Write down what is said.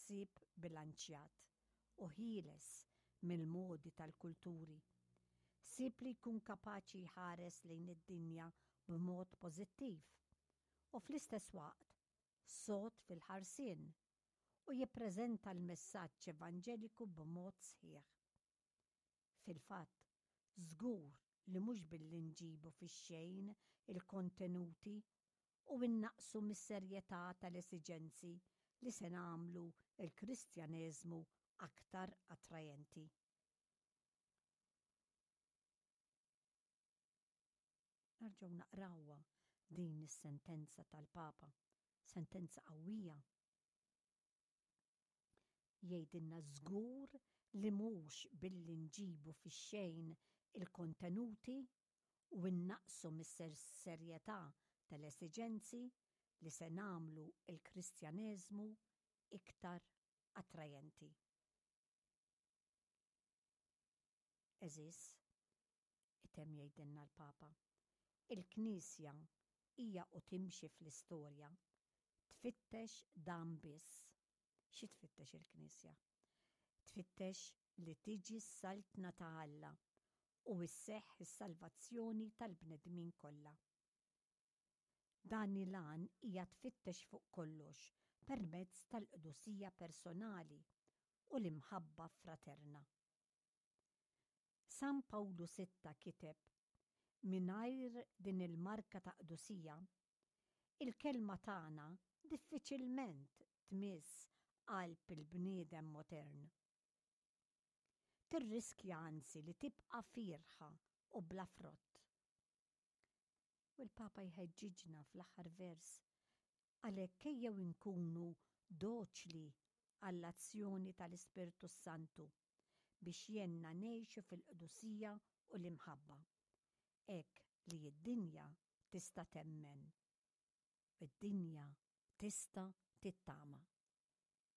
ħsieb bilanċjat u ħieles mill-modi tal-kulturi. Ħsieb li jkun kapaċi jħares lejn id-dinja b'mod pożittiv u fl-istess waqt sod fil-ħarsien u jippreżenta l-messaġġ evanġeliku b'mod sħiħ. Fil-fatt, żgur li mhux billi nġibu fix-xejn il-kontenuti u nnaqqsu mis-serjetà tal-esiġenzi li se nagħmlu l-Kristjaneżmu aktar attrajenti. Narġgħu naqrawha din is-sentenza tal-Papa, sentenza qawwija. Jgħidilna żgur li mhux billi nġibu fix-xejn il-kontenuti u nnaqqsu mis-serjetà tal-esiġenzi li se nagħmlu l-Kristjaneżmu iktar attrajenti. Għeżież, itemm jgħidilna l-Papa, il-Knisja hija u timxi fl-istorja, tfittex dan biss. Xi tfittex il-Knisja? Tfittex li tiġi s-Saltna ta' Alla u sseħħ is-salvazzjoni tal-bnedmin kollha. Dan il-għan hija tfittex fuq kollox permezz tal-qdusija personali u l-imħabba fraterna. San Pawlu Sitta kiteb, Mingħajr din il-marka ta' qdusija, il-kelma tagħna diffiċilment tmiss qalb il-bniedem modern. Tirriskja anzi li tibqa' fierħa u bla frott. U l-Papa jħeġġiġna fl-aħħar vers, Għalhekk ejjew inkunu doċli għall-azzjoni tal-Ispirtu s-Santu biex jgħinna ngħixu fil-qdusija u l-imħabba, hekk li d-dinja tista' temmen u d-dinja tista' tittama.